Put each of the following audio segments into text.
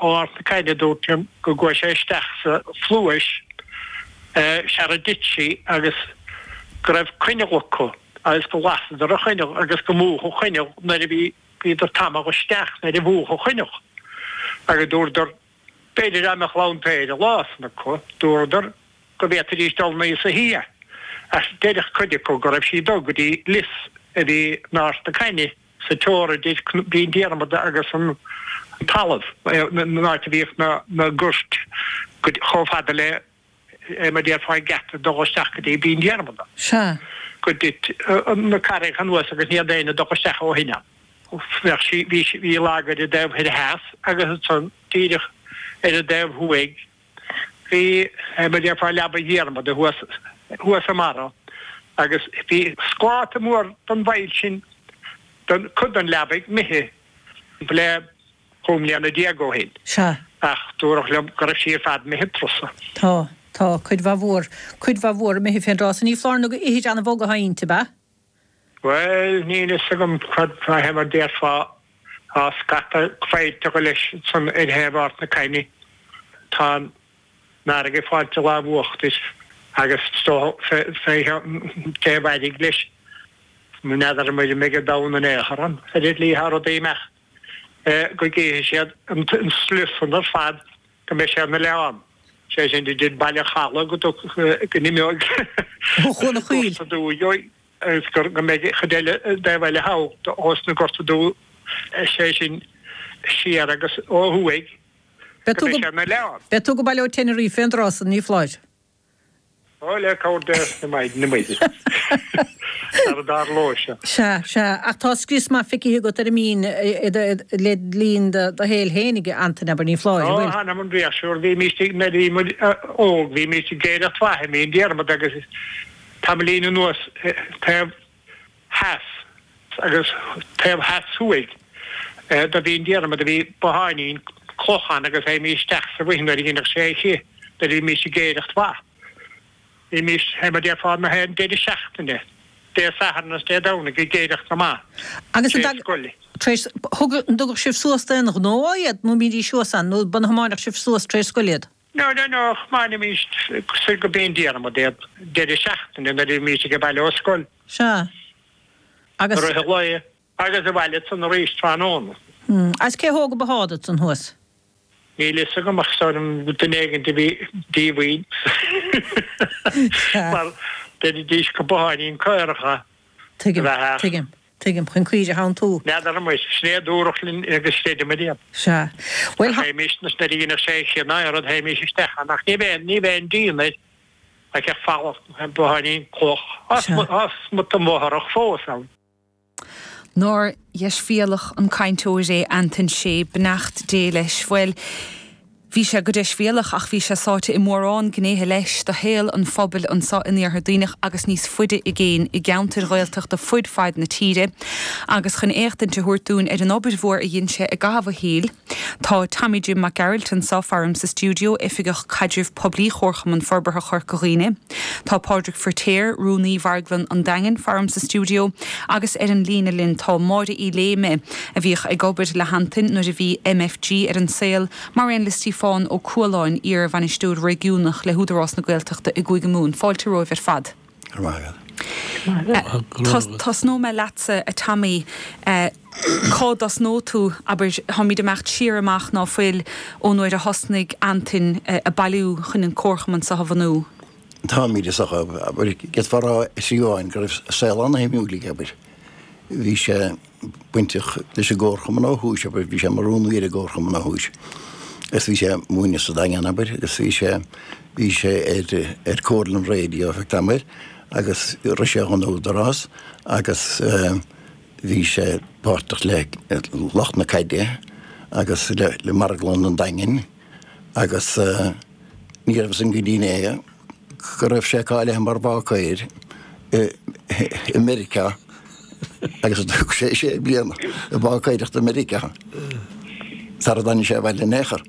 Ó Ard na Caithne dúirt liom go gcuaigh sé isteach sa phluais sara dtit sí agus go raibh coinneal acu agus go lasadar an choinneal agus go múchadh an choinneal nuair a bhí bhíodar tamall isteach nuair a mhúch an choinneal agus dúradar b'fhéidir dá mbeadh lantair an lá san acu dúradar go bhféadfaidís dul aníos uithi ach deireadh cuid acu go raibh sí ag dul go dtí lios a bhí in Ard na Caithne. sa teora idir Binn Diarmada agus an talamh, an áit a bhíodh na goirt chomh fada le, mar a déarfá, an geata ag dul isteach go dtí Binn Diarmada. Sea. Go dtit na carraigeacha anuas agus ní raibh éinne ag dul isteach ó shin ann. Bheadh sí, bhí sí, bhí lag ar an dtaobh thoir theas agus ansan díreach ar an dtaobh thuaidh Bhí, mar a déarfá, leaba Dhiarmada thuas, thuas i mbarra agus bhí scláta mór den bhfaill sin, den, cuid den leabaidh imithe le 15 mbliana ó shin. Sea. Ach dúradh liom go raibh sí ar fad imithe an turas san. Tá, tá, cuid mhaith mhór, cuid mhaith mhór imithe fén dtráth san. Ní foláir nó gur ithir an-bhog atá inti, ab ea? Bhuel, níl fhios agam cad é mar déarfá, tá scata faillteacha leis ansan ar thaobh Ard na Caithne. Tá an fharraige ag fáilt a lámh uachtair agus is dócha fé thaobh Airg leis, n'fheadar an mbeidh an domhan in aon chor ann, ar an tslí atá rudaí ag imeacht. go gcífidh siad an slios san ar fad go mbeidh sé ina oileán, sé sin idir Baile an Chalaidh go go n-imeoidh Ó Chuan an Choill. Gorta Dubha agus go mbeidh chuid eile an dtaobh eile thall ós na Gorta Dubha, sé sin siar agus ó thuaidh go mbeidh sé ina oileán. Beidh tú go baile ó Tenerife fén dtráth san, ní foláir. Ó, le cabhair Dé is na Maighdine Muire. Sara dtarlóidh sé. Sea, sea. Ach tá scrios maith feicthe agat ar an mbinn le linn do shaoil fhéinig, a Antain, abair, ní foláir, an bhfuil? Ó, th'anam 'on bpléisiúr. Bhímíst ag, nuair a bhí muid óg, bhímíst ag aoireacht mhaith i mBinn Diarmada agus tamaillín anuas taobh theas agus taobh theas thuaidh de Bhinn Diarmada bhí botháinín cloch ann agus théimís isteach sa bhoth nuair a dheineadh sé oíche nuair a bhímís ag aoireacht mhaith. Bhímís, fé mar déarfá, na haon deireadh seachtaine, Dé Sathairn agus Dé Domhnaigh ag aoireacht na mba Agus an tar éis scoile. Tar éis, thug, an dtugadh sibh suas d'aon ghnó iad nó bhídís thuas ann nó an dtiomáineadh sibh suas tar éis scoile iad? No, no, no, thiomáinimís soir go Binn Diarmada iad deireadh seachtaine nuair a bhímís ag baile ó scoil. Sea. Agus. I rith an lae. Agus abhaile ansan arís tráthnóna. Hmm. Agus cé thóg an bothán ansan thuas? Níl fhios agam ach is dóigh liom duine éigint a bhí díomhaoin. Sea. Mar deiridís gur botháinín caorach a Tuigim, bheadh ach. tuigim, tuigim. Chun caoirigh a theanntú. N'fheadar muis. Sin é a dúradh linn agus chreideamar iad. Sea. Bhuel, Ach théimís, nuair a dheineadh sé oíche ná aon rud, théimís isteach ann. Ach ní bheinn, ní bheinn díon air. Ach ag falach botháinín cloch. Tá smut den bhfothrach fós ann. Nár dheisbhéalach an cainteoir é Antain Sé, beannacht Dé leis. Bhuel, bhí sé go deisbhéalach ach bhí sé sáite i mórán gnéithe leis de shaol an phobail anseo in Iarthar Duibhneach agus níos faide i gcéin i gceantair Ghaeltachta fud fad na tíre. Agus chun éachtaint a thabhairt dúinn ar an obair mhór a dhein sé i gcaitheamh a shaoil, Tá Tommy Jim Mac Gearailt anseo faram sa stiúideo, Oifigeach Caidrimh Poiblí Chomharchumann Forbartha Chorca Dhuibhne. Tá Pádraig Firtéar, Rúnaí Mharglann an Daingin, faram sa stiúideo agus ar an líne linn tá Máire Uí Léime, a bhíodh ag obair le hAntain nuair a bhí MFG ar an saol, mar aon le Stíofán Ó Cualáin, iar-Bhainisteoir Réigiúnach le hÚdarás na Gaeltachta i gCúige Mumhan. Fáilte romhaibh ar fad. Go raibh maith agat. Tosnóidh mé leatsa, a Tommy. Cá dtosnóidh tú? Abair, táimid ag imeacht siar amach ná fuil ón uair a thosnaigh Antain ag bailiú chun an comharchumann seo a bhunú. Táimid, is dócha, abair, d'fhéadfá a rá i slí amháin go raibh saol an-shuimiúil aige, abair. Bhí sé bainteach leis an gcomharchumann ó thús, abair, bhí sé mar rúnaí ar an gcomharchumann ó thús. Agus bhí sé ag múineadh sa Daingean, abair, agus bhí sé, bhí sé ar, ar Comhairle an Raidió ar feadh tamaill agus rith sé dhon Údarás agus bhí sé páirteach le lucht na caide agus le, le Marglann an Daingin agus ní raibh san go dtí inné go raibh sé cáilithe mar bháicéir i Meiriceá agus thug sé sé bliana ag báicéireacht i Meiriceá sara dtáinig sé abhaile in aon chor.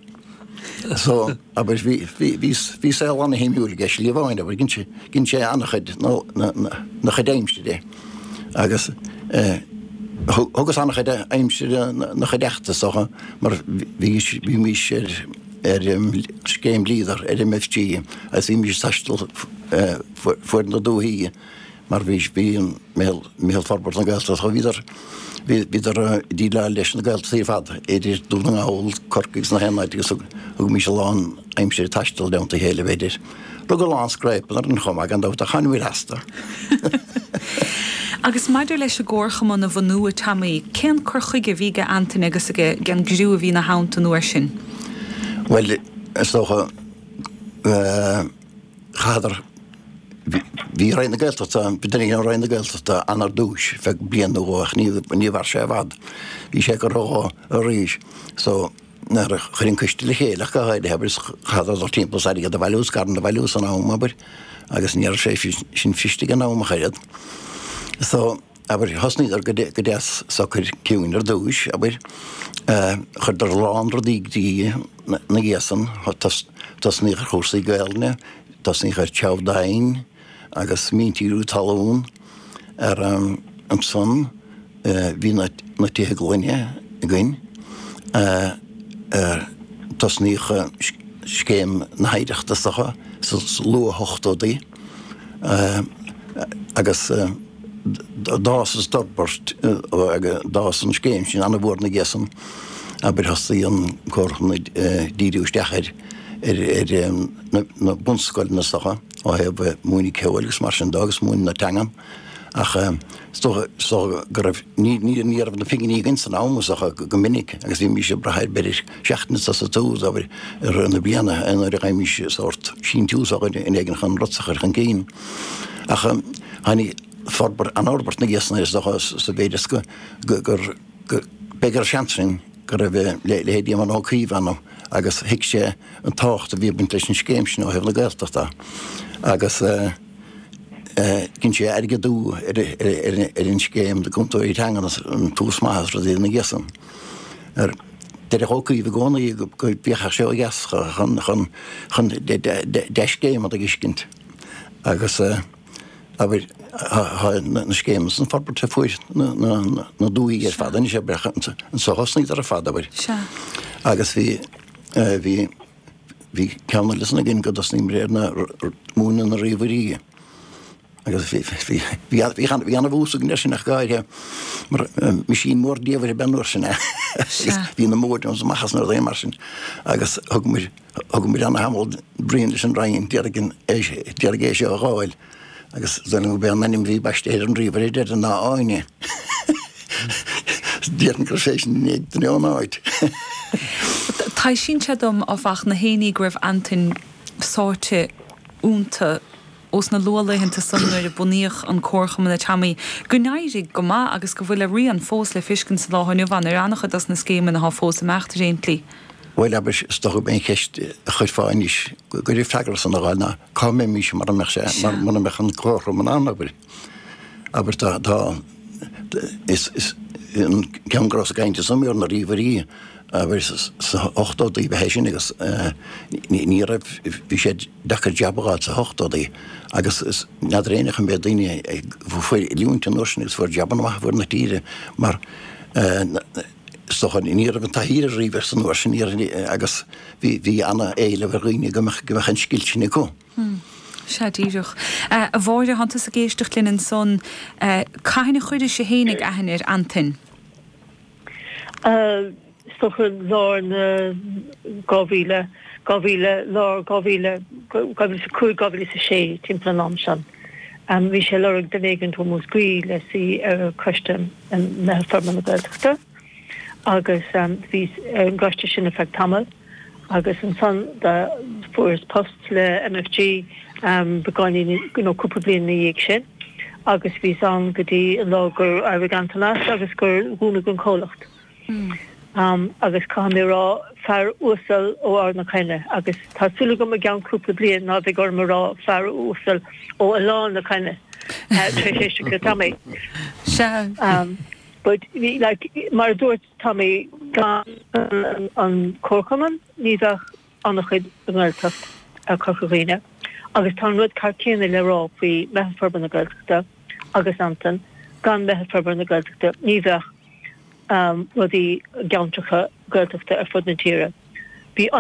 So, abair, bhí, bhí, bhí, bhí saol ana-shuimiúil aige, slí amháin, abair, dhein sé, dhein sé ana-chuid, na, na, na, na chuid aimsire agus eh. Thugas an-chuid aimsire 'na chuideachta is dócha mar bhímís ar scéim Leader ar MFG agus bhímís ag taisteal fuaid na dúthaí mar bhí bhí an Meitheal Forbartha na Gaeltachta bhíodar bhíodar ag déileáil leis na Gaeltachtaí ar fad idir Dún na nGall, Corcaigh agus na haon áit agus thugaimis a lán aimsire ag taisteal i dteannta a chéile b'fhéidir. Rug a lán scráipeanna orainn chomh maith gan dabht ach tháinig muid astu. Agus maidir leis an gComharchumann a bhunú, a Tommy, cén cur chuige a bhí ag Antaine agus ag an gcriú a bhí ina theannta an uair sin? Bhuel, is dócha, chaitheadar, bhí Roinn na Gaeltachta, bhí duine éigin ó Roinn na Gaeltachta ann ar dtúis, feadh bliain nó dhó ach ní mhair sé i bhfad. Bhí sé curtha dhó arís. So, nuair a chuir an coiste le chéile ach go háirithe, abair, chaitheadar dul timpeall is airgead a bhailiú, scaireanna a bhailiú san am, abair, agus ní raibh sé sin fuirist ag an am ach oiread. So, abair, thosnaíodar go deas socair ciúin ar dtúis, abair, chuireadar a lán rudaí i gcrích ina dhiaidh san, tosnaíodh ar chúrsaí Gaelainne, tosnaíodh ar treabhadh agus míntíriú talún, ar ansan, Bhí na tithe gloine againn. Tosnaíodh scéim na hoidhreachta is dócha sa luath-ochtóidí agus d'fhás is d'fhorbair d'fhás an scéim sin an-mhór ina dhiaidh san. Abair thosaigh an Comharchumann ag díriú isteach ar na bunscoileanna is dócha ó thaobh múineadh ceoil agus mar sin de agus múineadh na teangan. Ach is dócha, is dócha go raibh, ní, ní, ní raibh na pinginí againn san am, is dócha, go minic agus bhímís ag brath ar b'fhéidir seachtain sosa tús, abair, i rith na bliana nuair a fhaighimís sórt síntiús ó dhuine éigin chun rud a chur chun cinn. Ach tháinig forbairt, an-fhorbairt ina dhiaidh san is dócha sa mhéid is go, go, gur, go, b'fhéidir gur seans sin go raibh leithéidí Éamon Ó Cuív ann agus thuig sé an tábhacht a bhí ag baint leis an scéim sin ó thaobh na Gaeltachta agus. Dhein sé airgeadú ar an scéim do chúntóirí teangan agus an Tús Maith agus rudaí ina dhiaidh san. Deireadh Ó Cuív i gcónaí go bhféachfadh sé ó dheas chun dea-scéimeanna a fheiscint agus abair tá na scéimeanna san forbartha fuaid na dúthaí ar fad anois abair anso a thosnaíodar ar fad abair. Agus bhí bhí Bhí ceann eile san againn go dtosnaíomar ar na múineadh na ríomhairí agus bhí bhí an-bhús againn air sin ach go háirithe mar meaisín mór diamhair ab ea an uair sin é agus bhí na modems amach as na rudaí mar sin agus thugamar thugamar ana-thamall bruíon leis an Roinn d'iarraidh d'iarraidh é seo a dh'fháil. Agus is dóigh liom gurb é an ainm a bhí baiste ar an ríomhaire ar deireadh ná Áine. Déarfainn go raibh sé sin i ndiaidh duine ón áit. Taibhsíonn sé dom, áfach, na héinní go raibh Antain sáite iontu ós na luathlaethanta san nuair a bunaíodh an Comharchumann a Tommy, go n-éirigh go maith agus go bhfuil a rian fós le fiscint sa lá inniu ann ar an-chuid dos na scéimeanna atá fós ag imeacht ar aon tslí. Bhuel, abair, is dócha gurb é an cheist a chuirfeá anois, go raibh freagra san a dh'fháil ná cá mbeimis mura mbeadh sé, mura mbeadh an Comharchumann ann, abair. Abair, tá, tá, is, is, an ceann go rabhas ag caint ansan ar na ríomhairí, abair, sna hochtóidí ba é sin agus ní, ní raibh, bhí sé deacair jab a dh'fháil sna hochtóidí agus is, n'fheadar éinne an mbeadh daoine a fuair oiliúint an uair sin agus fuair jabanna maithe fuaid na tíre mar Is dócha, ní raibh an taithí ar ríomhaire san uair sin agus bhí ana-éileamh ar dhaoine go mbeadh an scil sin acu. Sea, díreach. A Mháire, thánn tusa ag éisteacht linn ansan. Cathain a chuiris-se fhéinig aithne ar Antain? Is dócha lár na 2000, 2000, lár 2000, 2005, 2006, timpeall an am sin. Bhí sé ag lorg duine éigin ó Mhúscraí le suí ar choiste Meitheal Forbartha na Gaeltachta agus bhíos ar an gcoiste sin ar feadh tamaill agus ansan fuaireas post le MFG beagáinín nó cúpla bliain ina dhiaidh sin agus bhíos ann go dtí an lá gur éirigh Antain as agus gur dúnadh an comhlacht. Agus caithfidh mé a rá, fear uasal ó Ard na Caithne, agus tá súil agam i gceann cúpla bliain ná beidh orm a rá fear uasal ó Oileán na Caithne, tar éis éisteacht le Tommy. Sea. But, like, mar a dúirt Tommy, gan an Comharchumann, ní bheadh an-chuid i nGaeltacht Chorca Dhuibhne agus tá an rud ceart céanna le rá faoi Meitheal Forbartha na Gaeltachta agus Antain. Gan Meitheal Forbartha na Gaeltachta ní bheadh rudaí i gceantracha Gaeltachta ar fud na tíre. Bhí an.